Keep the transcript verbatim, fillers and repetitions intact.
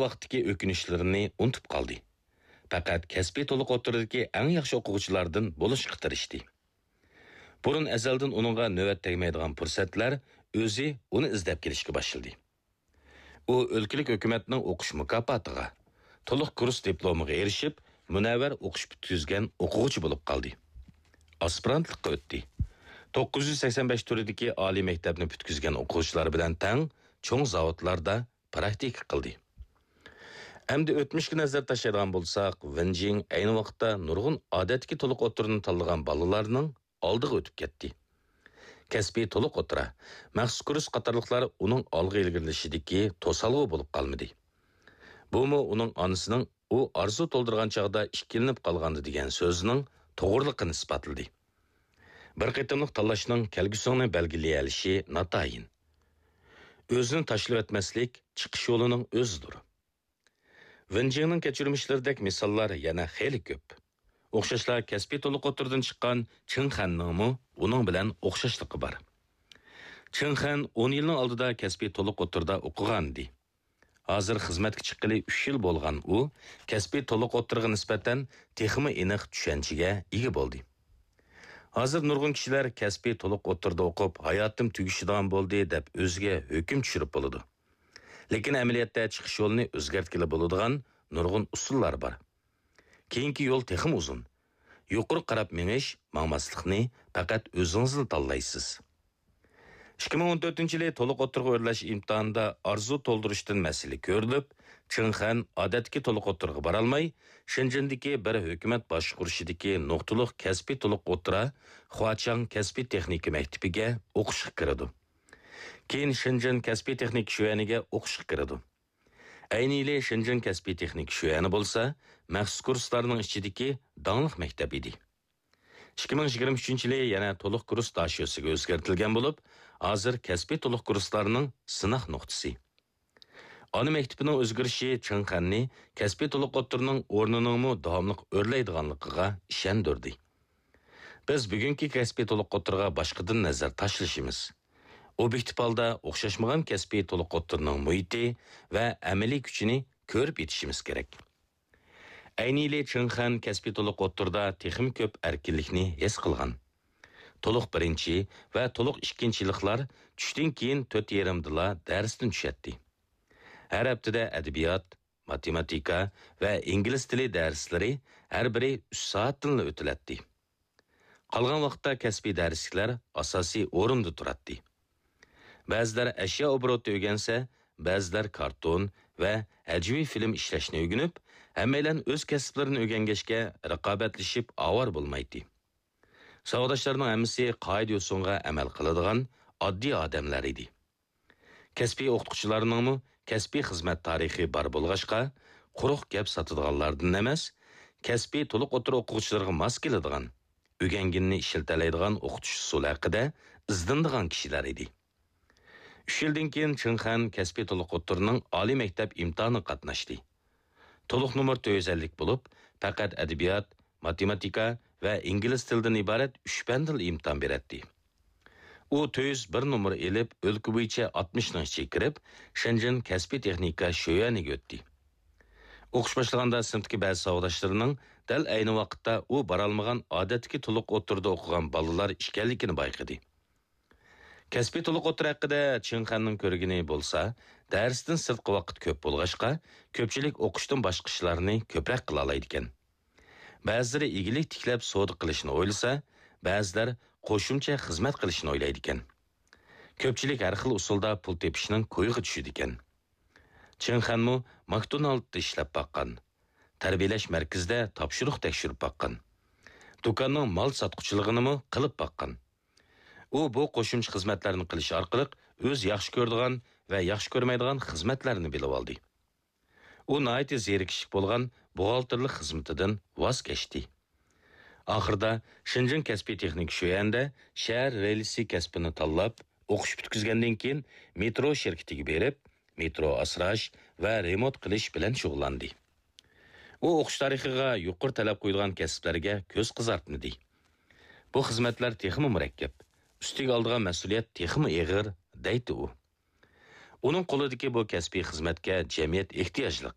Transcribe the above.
ۋاقىتتىكى ئۆكۈنۈشلىرىنى ئۇنتۇپ قالدى. پەقەت كەسپىي تولۇق ئوتتۇرىدىكى ئەڭ ياخشى ئوقۇغۇچىلاردىن بولۇشقا تىرىشتى. بۇرۇن ئەزەلدىن ئۇنىڭغا نۆۋەت تەگمەيدىغان پۇرسەتلەر ئۆزى ئۇنى ئىزدەپ كېلىشكە باشلىدى. ئۇ ئۆلكىلىك ھۆكۈمەتنىڭ ئوقۇش مۇكاپاتىغا، تولۇق كۇرس دىپلومىغا ئېرىشىپ، مۇنەۋۋەر ئوقۇش پۈتكۈزگەن ئوقۇغۇچى بولۇپ قالدى. ئاسپىرانتلىققا ئۆتتى. توققۇز يۈز سەكسەن بەش تۈرىدىكى ئالىي مەكتەپنى پۈتكۈزگەن ئوقۇغۇچىلار بىلەن تەڭ چوڭ زاۋۇتلاردا پراكتىكا قىلدى. ئەمدى ئۆتمۈشكە نەزەر تاشلايدىغان بولساق، ۋېن جىڭ ئەينى ۋاقىتتا نۇرغۇن ئادەتتىكى تولۇق ئوتتۇرىنى تاللىغان بالىلارنىڭ ئالدىغا ئۆتۈپ كەتتى. كەسپىي تولۇق ئوتتۇرا، مەخسۇس كۇرس قاتارلىقلار ئۇنىڭ ئالغا ئىلگىرىلىشىدىكى توسالغۇ بولۇپ قالمىدى. بۇمۇ ئۇنىڭ ئانىسىنىڭ ئۇ ئارزۇ تولدۇرغان چاغدا ئىككىلىنىپ قالغاندا دېگەن سۆزىنىڭ توغرىلىقىنى ئىسپاتلىدى. بىر قېتىملىق تاللاشنىڭ كەلگۈسىڭنى بەلگىلىيەلىشى ناتايىن. ئۆزىنى تاشلىۋەتمەسلىك چىقىش يولىنىڭ ئۆزىدۇر. ۋېن جىڭنىڭ كەچۈرمىشلىرىدەك مىساللار يەنە خېلى كۆپ. ئوخشاشلا كەسپىي تولۇق ئوتتۇرىدىن چىققان چېڭ خەننىڭمۇ ئۇنىڭ بىلەن ئوخشاشلىقى بار. چېڭ خەن ئون يىلنىڭ ئالدىدا كەسپىي تولۇق ئوتتۇرىدا ئوقۇغانىدى. ھازىر خىزمەتكە چىققىلى ئۈچ يىل بولغان ئۇ، كەسپىي تولۇق ئوتتۇرىغا نىسبەتەن تېخىمۇ ئېنىق چۈشەنچىگە ئىگە بولدى. ھازىر نۇرغۇن كىشىلەر كەسپىي تولۇق ئوتتۇرىدا ئوقۇپ، ھاياتىم تۈگىشىدىغان بولدى، دەپ ئۆزىگە ھۆكۈم چۈشۈرۈپ بولىدۇ. لېكىن ئەمەلىيەتتە چىقىش يولىنى ئۆزگەرتكىلى بولىدىغان نۇرغۇن ئۇسۇللار بار. كېيىنكى يول تېخىمۇ ئۇزۇن. يۇقىرىغا قاراپ مېڭىش، ماڭماسلىقنى پەقەت ئۆزىڭىزلا تاللايسىز. ئىككى مىڭ ئون تۆتىنچى يىلى تولۇق ئوتتۇرىغا ئۆرلەش ئىمتىھانىدا ئارزۇ تولدۇرۇشتىن مەسىلە كۆرۈلۈپ، چېڭ خەن ئادەتتىكى تولۇق ئوتتۇرىغا بارالماي، شېنجېندىكى بىر ھۆكۈمەت باشقۇرۇشىدىكى نۇقتىلىق كەسپىي تولۇق ئوتتۇرا خۇاچاڭ كەسپىي تېخنىكا مەكتىپىگە ئوقۇشقا كىرىدۇ. كېيىن شېنجېن كەسپىي تېخنىكا شۆيەنىگە ئوقۇشقا كىرىدۇ. ئەينى يىلى شېنجېن كەسپىي تېخنىكا شۆيەنى بولسا مەخسۇس كۇرسلارنىڭ ئىچىدىكى داڭلىق مەكتەپ ئىدى. ئىككى مىڭ يىگىرمە ئۈچىنچى يىلى يەنە تولۇق كۇرس داشۆسىگە ئۆزگەرتىلگەن بولۇپ، ھازىر كەسپىي تولۇق كۇرسلارنىڭ سىناق نۇقتىسى. ئانا مەكتىپىنىڭ ئۆزگىرىشى چېڭ خەننى كەسپىي تولۇق ئوتتۇرىنىڭ ئورنىنىڭمۇ داۋاملىق ئۆرلەيدىغانلىقىغا ئىشەندۈردى. بىز بۈگۈنكى كەسپىي تولۇق ئوتتۇرىغا باشقىدىن نەزەر تاشلىشىمىز. ئوبيېكتىپ ھالدا ئوخشاشمىغان كەسپىي تولۇق ئوتتۇرىنىڭ مۇھىتى ۋە ئەمەلىي كۈچىنى كۆرۈپ يېتىشىمىز كېرەك. ئەينى يىلى چېڭ خەن كەسپىي تولۇق ئوتتۇرىدا تېخىمۇ كۆپ ئەركىنلىكنى ھېس قىلغان. تولۇق بىرىنچى ۋە تولۇق ئىككىنچى يىللىقلار چۈشتىن كېيىن تۆت يېرىمدىلا دەرستىن چۈشەتتى. ھەر ھەپتىدە ئەدەبىيات، ماتېماتىكا ۋە ئىنگلىز تىلى دەرسلىرى ھەر بىرى ئۈچ سائەتتىنلا ئۆتۈلەتتى. قالغان ۋاقىتتا كەسپىي دەرسلىكلەر ئاساسىي ئورۇندا تۇراتتى. بەزىلەر ئەشيا ئوبوروتى ئۆگەنسە، بەزىلەر كارتون ۋە ھەجۋىي فىلىم ئىشلەشنى ئۆگىنىپ، ھەممەيلەن ئۆز كەسىپلىرىنى ئۆگەنگەچكە رىقابەتلىشىپ ئاۋارە بولمايتتى. ساۋاقداشلارنىڭ ھەممىسى قائىدە-يوسۇنغا ئەمەل قىلىدىغان ئاددىي ئادەملەر ئىدى. كەسپىي ئوقۇتقۇچىلارنىڭمۇ كەسپىي خىزمەت تارىخى بار بولغاچقا، قۇرۇق گەپ ساتىدىغانلاردىن ئەمەس، كەسپىي تولۇق ئوتتۇرا ئوقۇغۇچىلىرىغا ماس كېلىدىغان، ئۆگەنگىنىنى ئىشلىتەلەيدىغان ئوقۇتۇش ئۇسۇلى ھەققىدە ئىزدىنىدىغان كىشىلەر ئىدى. ئۈچ يىلدىن كېيىن چېڭ خەن كەسپىي تولۇق ئوتتۇرىنىڭ ئالىي مەكتەپ ئىمتىھانىغا قاتناشتى. تولۇق نومۇر تۆت يۈز ئەللىك بولۇپ، پەقەت ئەدەبىيات، ماتېماتىكا ۋە ئىنگلىز تىلىدىن ئىبارەت ئۈچ پەندىلا ئىمتىھان بېرەتتى. ئۇ تۆت يۈز بىر نومۇر ئېلىپ، ئۆلكە بويىچە ئاتمىشنىڭ ئىچىگە كىرىپ، شېنجېن كەسپىي تېخنىكا شۆيۈەنىگە ئۆتتى. ئوقۇش باشلىغاندا سىنىپتىكى بەزى ساۋاقداشلىرىنىڭ دەل ئەينى ۋاقىتتا ئۇ بارالمىغان ئادەتتىكى تولۇق ئوتتۇرىدا ئوقۇغان بالىلار ئىكەنلىكىنى بايقىدى. كەسپىي تولۇق ئوتتۇرا ھەققىدە چىڭ خەننىڭ كۆرگىنى بولسا، دەرستىن سىرتقى ۋاقىت كۆپ بولغاچقا، كۆپچىلىك ئوقۇشتىن باشقا ئىشلارنى كۆپرەك قىلالايدىكەن. بەزىلىرى ئىگىلىك تىكلەپ سودا قىلىشنى ئويلىسا، بەزىلەر قوشۇمچە خىزمەت قىلىشنى ئويلايدىكەن. كۆپچىلىك ھەر خىل ئۇسۇلدا پۇل تېپىشنىڭ كويىغا چۈشىدىكەن. چىڭ خەنمۇ ماكدونالدتا ئىشلەپ باققان. تەربىيەلەش مەركىزىدە تاپشۇرۇق تەكشۈرۈپ باققان. دۇكاننىڭ مال ساتقۇچىلىقىنىمۇ قىلىپ باققان. ئۇ بۇ قوشۇمچە خىزمەتلەرنى قىلىش ئارقىلىق ئۆزى ياخشى كۆرىدىغان ۋە ياخشى كۆرمەيدىغان خىزمەتلەرنى بىلىۋالدى. ئۇ ناھايىتى زېرىكىشلىك بولغان بوغالتىرلىق خىزمىتىدىن ۋاز كەچتى. ئاخىرىدا شېنجېن كەسپىي تېخنىكا شۆيەندە شەھەر رېلىسى كەسپىنى تاللاپ، ئوقۇش پۈتكۈزگەندىن كېيىن مېترو شىركىتىگە بېرىپ، مېترو ئاسراش ۋە رېمونت قىلىش بىلەن شۇغۇللاندى. ئۇ ئوقۇش تارىخىغا يۇقىرى تەلەپ قويىدىغان كەسىپلەرگە كۆز قىزارتمىدى. بۇ خىزمەتلەر تېخىمۇ مۇرەككەپ، ئۈستىگە ئالىدىغان مەسئۇلىيەت تېخىمۇ ئېغىر، دەيتتى ئۇ. ئۇنىڭ قولىدىكى بۇ كەسپىي خىزمەتكە جەمئىيەت ئېھتىياجلىق.